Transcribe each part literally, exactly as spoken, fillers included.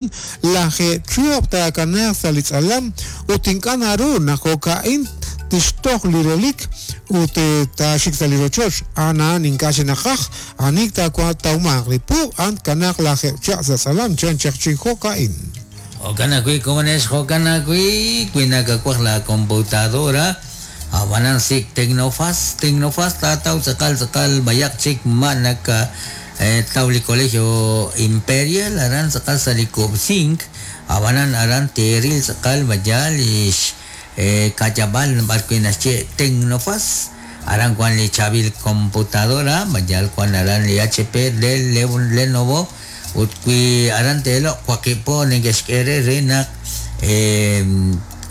Lajeeb' chihab' taakanaaq sa' li tz'alam ut ink'a' naru naq jo'ka'in tixtoj li relik ut taaxik sa' li rochoch a'an a'an ink'a' xinaqaj anik taawmaq li puub' a'an kanaaq lajeeb' chihab' sa' tz'alam chan chaq chi jo'ka'in. Jo'kan ajwi' komonex jo'kan ajwi' wi nakawaj la computadora abanan sik Tecnofast Tecnofast taataw tz'aqal tz'aqal bayaq chik ma naka taw li Colegio Imperial aran tz'aqal sa' li Cubsink abanan aran teril tz'aqal bayal ix kayabal b'ar wi naxye Tecnofast aran wan li chabil computadora bayal wan aran li H P Dell Lenovo ut wi aran teeloq waqib' po neke'xk'e re naq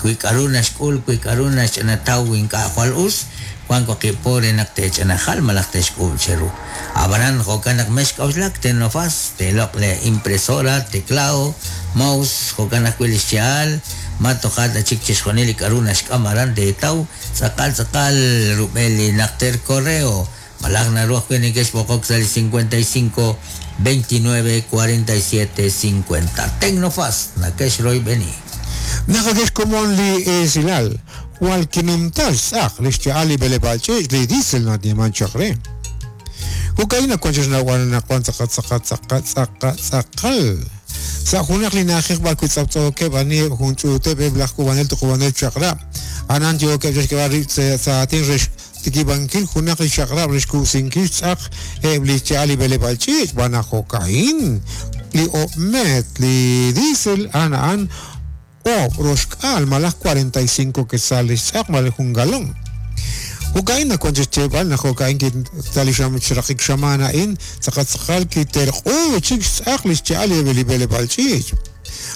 wi k'aru naxk'ul wi k'aru naxch'anataw ink'a' jwal us wan waqib' po re naq te'ch'anajal malaj te'xk'ub' cheru abanan jo'kan naq mexk'auxlak Tecnofast teeloq le impresora teclado mouse jo'kan ajwi' li xcha'al ma toja' ta chik chixjunil li k'aru naxk'am aran teetaw tz'aqal tz'aqal rub'el li najter correo malaj naru ajwi' neke'xb'oqok sa' li cincuenta y cinco veintinueve cuarenta y siete cincuenta Tecnofast nake'xroyb'eni naqakex komon li esilal wal kinumtal tz'aq li xcha'al li b'eleb'aal ch'iich' li diesel natieman chaq re jo'ka'in nawank xnawb'al naq wan tz'aqal tz'aqal tz'aqal tz'aqal tz'aqal sa' junaq li na'ajej b'ar wi tz'aptz'ookeb' aniheb' jun ch'uuteb' eb' laj k'ub'anel tuqub'anel chaq'rab' anan yookeb' chixk'eb'al rib' sa' aatin re xtikib'ankil junaq li chaq'rab' re xkub'sinkil xtz'aq eb' li xcha'al li b'eleb'aal ch'iich' b'an naq jo'ka'in li o'met li diesel a'an a'an oob' roxk'aal malaj cuarenta y cinco quetzales xtz'aq malaj jun galón. Jo'ka'in nawank xyeeb'al naq jo'ka'in sa' li xraqik xamaan a'in tz'aqal tz'aqal kiterq'u chik xtz'aq li xcha'al li b'eleb'aal ch'iich'.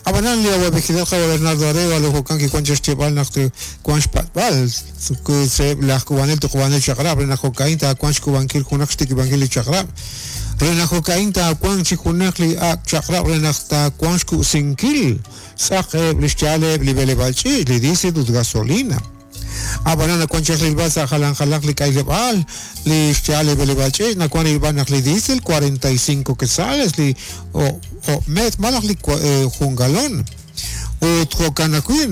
Abanan li awab'ejilal qawa Bernardo Arévalo jo'kan kiwank xyeeb'al naq wank xpatb'al sa'eb' laj k'ub'anel tuqub'anel chaq'rab' re naq jo'ka'in taawank xk'ub'ankil junaq xtikib'ankil li chaq'rab' re naq jo'ka'in taawank chi junaq li ak' chaq'rab' re naq taawank xkub'sinkil tz'aq eb' li xcha'al eb' li b'eleb'aal ch'iich' li diesel ut gasolina. Abanan nawank chaq rilb'al sa' jalan jalanq li k'ayleb'aal li xcha'al li b'eleb'aal ch'iich' nawank rilb'al naq li diesel cuarenta y cinco quetzales li o'met malaj li jun galón. Ut jo'kan ajwi'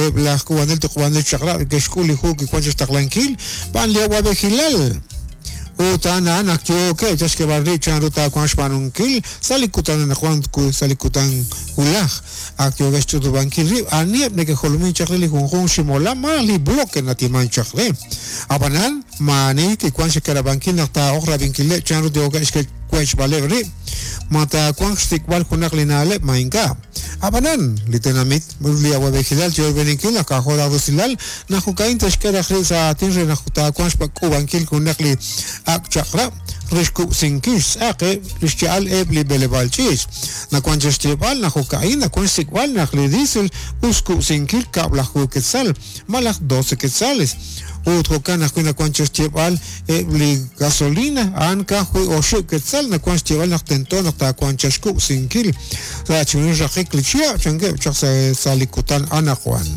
eb' laj k'ub'anel tuqub'anel chaq'rab' ke'xk'ul li hu kiwank xtaqlankil b'an li awab'ejilal. Ut a'an a'an naq yookeb' chixk'eb'al rib' chanru taawank xb'aanunkil sa' li kutan anaqwan sa' li kutan wulaj ak yookeb' xch'utub'ankil rib' aniheb' neke'jolomin chaq re li junjunq ximolam malaj li bloque natiman chaq re. Ab'anan maani kiwank xkarab'ankil naq taa'oq rab'inkileb' chanru yookeb' xwech'b'aleb' rib' ma taawank xsik'b'al junaq li na'leb' ma ink'a'. Abanan li tenamit li awab'ejilal yo'b'eninkil naq k'a'jo' rusilal naq jo'ka'in te'xk'e raj rib' sa' aatin re naq taawank xk'ub'ankil junaq li ak' chaq'rab' re xkub'sinkil xtz'aq li xcha'al eb' li b'eleb'aal ch'iich'. Nawank xyeeb'al naq jo'ka'in nawank xsik'b'al naq li diesel us xkub'sinkil kab'laju quetzal malaj doce quetzales. Ut jo'kan ajwi' nawank xyeeb'al eb' li gasolina a'an ka'ajwi' oxib' quetzal nawank xyeeb'al naq tento naq taawank xkub'sinkil sa' chunil raqik li chihab' chankeb' chaq sa' li kutan anaqwan.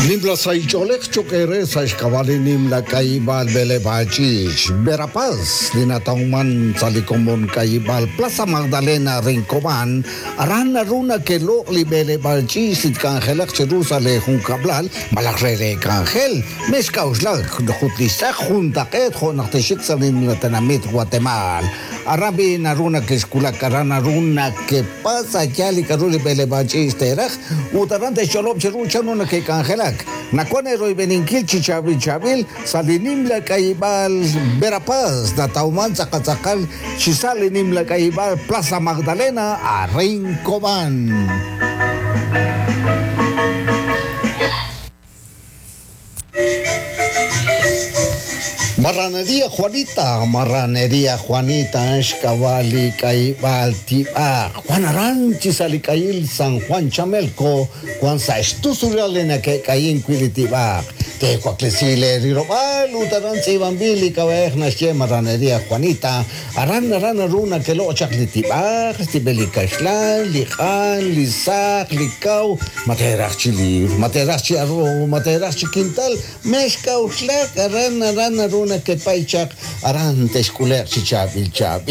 Nimla saich'oolej choq' re sa' xk'ab'a' li nimla k'ayib'aal b'eleb'aal ch'iich' Verapaz li natawman sa' li komon k'ayib'aal Plaza Magdalena Rincobán aran naru nake'loq' li b'eleb'aal ch'iich' li tk'anjelaq chiru sa' li junkab'lal malaj re re k'anjel mexk'a'uxlak jut li xtz'aq juntaq'eet jo' naq texik sa' li nimla tenamit Guatemala aran b'i naru nake'xkulak aran naru nakepasa yaal li k'aru li b'eleb'aal ch'iich' teeraj ut aran te'xch'olob' chiru chanru nake'k'anjelak. Nawank royb'eninkil chi chaab'il chaab'il sa' li nimla k'ayib'aal Verapaz natawman tz'aqal tz'aqal chi sa' li nimla k'ayib'aal Plaza Magdalena a Rincobán. Marranería Juanita, Marranería Juanita, xk'ab'a' k'ayib'aal tib'aq Juan Aranchi sa' li k'ayil San Juan Chamelco, Juan sa' xtusulal li nake'k'ayin wi' li tib'aq. Tewaklesi le rilob'aal ut aran tz'iib'anb'il li k'ab'a'ej naxye Marraneria Juanita. Aran aran naru nakeloq chaq li tib'aj, tib'el li kaxlan, li q'an, li saq, li kaw, ma teeraj chi liwr, ma teeraj chi arroz, ma teeraj chi kintal, mex k'a'uxlak aran aran naru nakepay chaq aran texk'ule'q chi chaab'il chaab'il.